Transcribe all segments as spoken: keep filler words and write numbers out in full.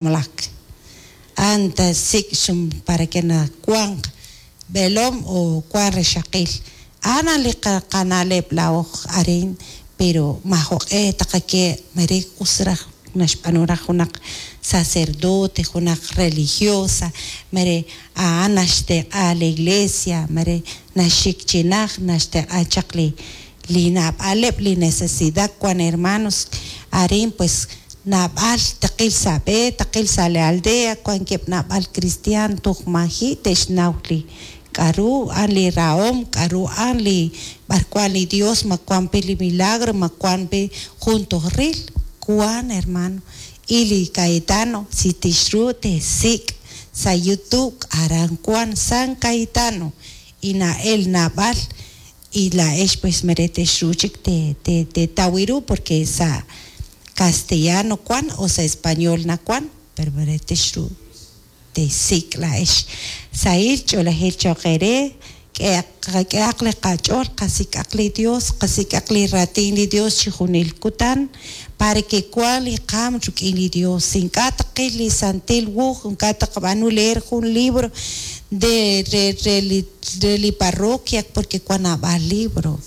Malak anta sik' xum para que na wanq b'eelom o wan rixaqil ana li qana'leb' laa'o arin pero majo'q'e taqake' mere us raj naxb'aanu raj junaq sacerdote, junaq religiosa, mere a'an naxtenq'a la iglesia, mere naxik chi naj naxtenq'a chaq li li naab'aleb' li necesidad wan hermanos arin pues naab'al taqil sa' b'e, taqil sa' la aldea, wankeb' naab'al cristiano toj maji' te'xnaw li k'a'ru an li rahom, k'a'ru an li b'arwan li Dios ma wan pi li milagro, ma wan pi jun toj ril wan hermano. Y li Cayetano si tixru te'sik' sa' YouTube aran wan San Cayetano y na'el naab'al y la'ex pues mere texru chik te te tetaw ru porque sa' castellano wan o sa' español nawan pero mere texru te'sik' la'ex sahil ch'oolejil choq' eere k'ehaq li qach'ool qasik'aq li Dios, qasik'aq li raatin li Dios chi junil kutan para que wan li qaam rik'in li Dios ink'a' taqil li santil wuuj ink'a' taqab'aanu leer jun libro de re re li re li parroquia porque wan naab'al libro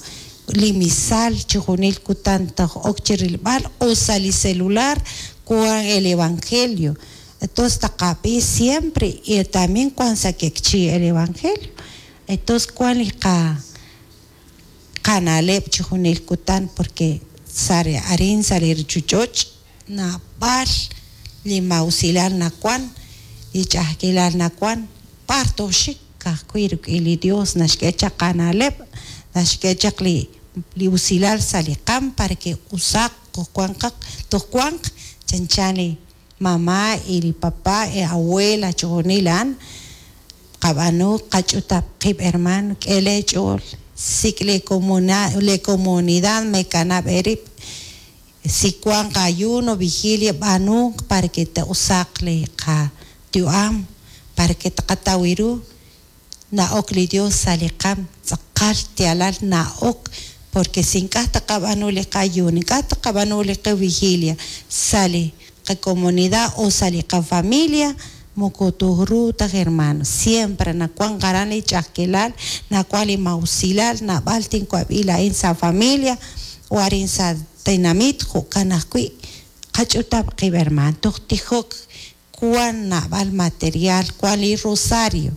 li misal chi junil kutan toj ok chi rilb'al o sa' li celular wan el evangelio entonces taqab'i siempre y también wan sa' kekchi el evangelio entonces wan li qa qana'leb' chi junil kutan porque sa' arin sa' li ruchich'och' naab'al li mawsilal nawan li ch'a'ajkilal nawan b'ar toxik ka'ajwi' rik'in li Dios naxk'e chaq qana'leb' naxk'e chaq li li usilal sa' li qaam para que usaq toj toj wanq chanchan li mamá y li papá y abuela chi junil a'an qab'aanu qach'utab' qib' hermano k'ele ch'ool sik' le comuna le comunidad mekanab' eerib' si wan ayuno vigilia b'aanu para que te'usaq li qayu'am para que taqataw ru na'ok li Dios sa' li qaam tz'aqal xyaalal na'ok porque si ink'a' taqab'aanu li qayuno ink'a' taqab'aanu li qavigilia sa' li qacomunidad o sa' li qafamilia moko toj taj hermano siempre nawan aran li ch'a'ajkilal nawan li mawsilal naab'al tinwab'i la'in sa' familia o arin sa' tinamit jo'kan ajwi' qach'utab' qib' hermano toj tijok wan naab'al material wan li rosario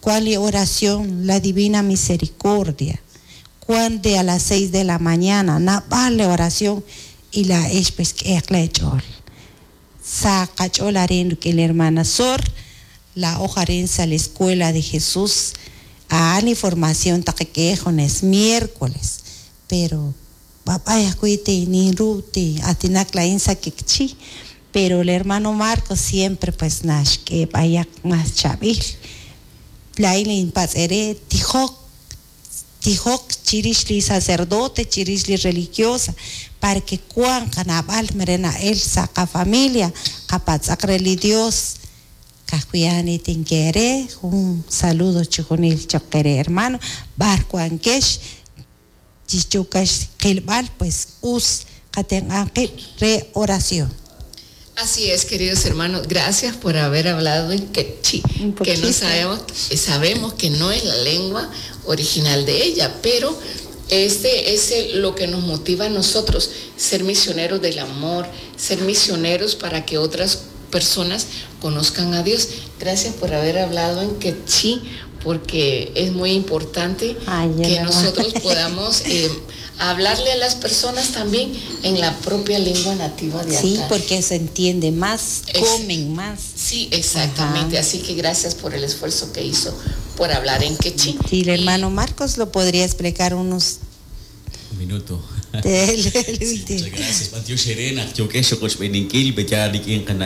wan li oración la divina misericordia wan de a las seis de la mañana naab'al li oración y la'ex pues k'ehaq leech'ool sa' qach'ool arin rik'in li hermana Sor la'oj arin sa' la escuela de Jesús a'an li formación taqak'e junes miércoles pero b'ab'ay ajwi' ninru ti aatinak la'in sa' kekchi pero el hermano Marcos siempre pues naxk'e b'ayaq mas chab'il la'in inpatz'ere tijok tijok chirix li sacerdote chirix li religiosa para que wan qanab'al mere na'el sa' qafamilia qapatz'aq re li Dios kajwi'an tinkere jun saludo chi junil choq qere hermano b'ar wankex chichukax qilb'al pues us qatenq'an qib' re oración. Así es, queridos hermanos, gracias por haber hablado en quechí, que no sabemos, sabemos que no es la lengua original de ella, pero este es el, lo que nos motiva a nosotros, ser misioneros del amor, ser misioneros para que otras personas conozcan a Dios. Gracias por haber hablado en quechí, porque es muy importante Ay, que nosotros podamos eh, hablarle a las personas también en la propia lengua nativa de acá. Sí, porque se entiende más, es, comen más. Sí, exactamente. Ajá. Así que gracias por el esfuerzo que hizo por hablar en quechí. Sí, el hermano Marcos lo podría explicar unos... Un minuto. Sí, muchas gracias. Mateo Serena, yo que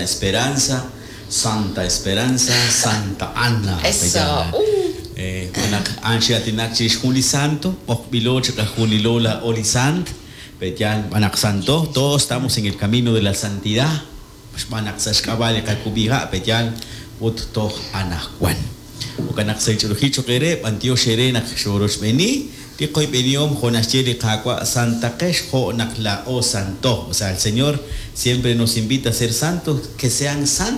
Esperanza, Santa Esperanza, Santa Ana. Eso. Uh. Eh, anxi atinak chix jun li santo, ojb'ilo chikajunilo la oli sant, peyan anak santo, todos estamos en el camino de la santidad. Xb'anak sa' xk'ab'a' li qakub'iha' peyan ut toj anajwan. Okanak sa' ch'olojil choq' ere, b'antiox ere naq xoroxb'eni, Li qoyb'enihom jo' naxye li Qaawa' santaqex jo' naq laa'o santo. O sea, el Señor siempre nos invita a ser santos, que sean santos.